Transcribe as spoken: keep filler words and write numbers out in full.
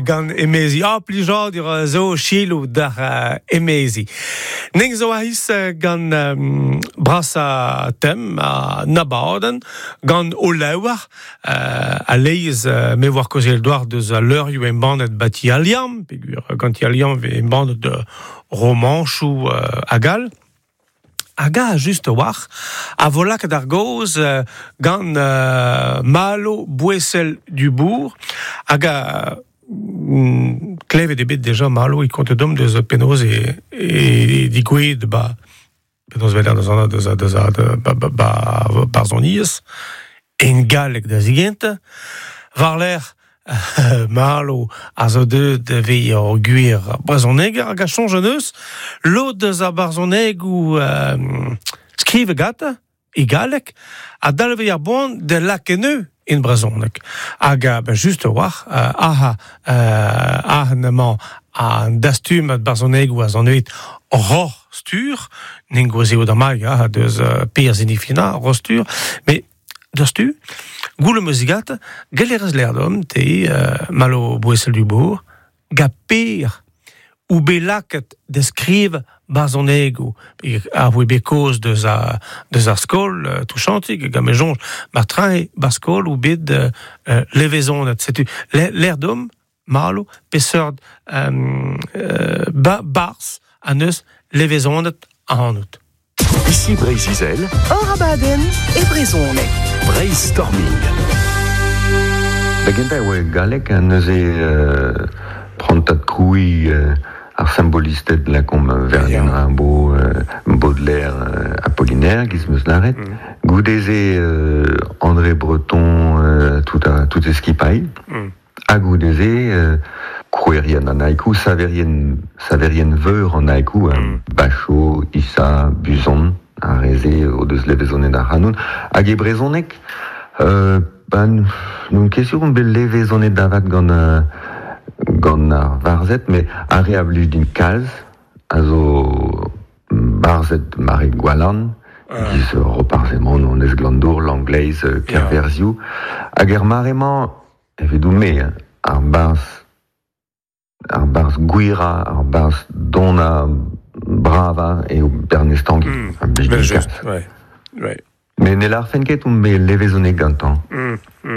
Gant emezi. Ah, plijadur a zo selaou d'ar uh, emezi. Neng zo ahiz gant um, brasa tem a nabaden, gant o lewar, uh, a leiz uh, me war kozel doar deus a leurioù embannet bati aliam, pegur gant aliam ve embannet de romanchou uh, agal. Hag a just war, a vo lakaet ar gaoz uh, gant uh, Malo Bouessel du Bourg, hag a mm, klevet eo bet deja Malo e konte dom deus penaos e, e, digouezet ba penaos veler deus an deus deus ba, ba, ba, barzhoniezh en galleg da zigent war-lerc'h Malo a zo deuet ve ur gwir brezhoneger hag a soñj an eus lod deus ar barzhonegoù euh, skrive gata e galleg a dalve ar boan de lakeneu in brezhoneg. Hag a, ben just war, uh, aha, uh, aha nemañ an dastum at barzhonegoù a zan evet ror stur, n'en gwezeo da mag, ah, deus uh, per zinifina, ror stur, mais deus tu, goule muzigat, gelerez lerdom, te uh, Malo Bouessel du Bourg, ga per ou bet lakaet da skriv barzhonegoù, a voe bet kaoz deus a, deus ar skol, uh, touchantik, gant me soñj, mar trae bar skol ou bet uh, levezonet. Setu, l'air dom, Malo, peseurt um, uh, ba, barz an eus levezonet ac'hanout. Ici Breizh-Izel, Hor abadenn e brezhoneg. Breizhstorming. Da gentañ e oa galleg ha neuze euh, prantad krouiñ euh, ar symbolisted lakomp Verlaine Rimbaud, euh, Baudelaire, euh, Apollinaire, giz meus lâret. Mm. Goude-se euh, André Breton, euh, tout a tout e skipailh. Mm. Ha goude-se euh, krouerien an haiku, saverien, saverien veur an haiku, mm. Bachot, Issa, Buzon, ar re-se o deus levezonet ac'hanon. Hag e brezhoneg, euh, ben, n'on ket sur on bet levezonet davat gant, euh, gant ar varzhed, met ar re a blij din kalz, a zo barzhed mare Gwalarn, Ah. giz Roparz Hemon, Anez Glandour, Langleiz, Kerverzhioù. Hag er mare-mañ, evidoun-me, hein, ar barzh, ar barzh gwirañ, ar barzh donañ bravañ eo Bernez Tangi. Mm. A blij din Ben just, kalz. ouais. Ouais. Mais ne lârfen ket on bet levezonet gantañ. Mm, mm.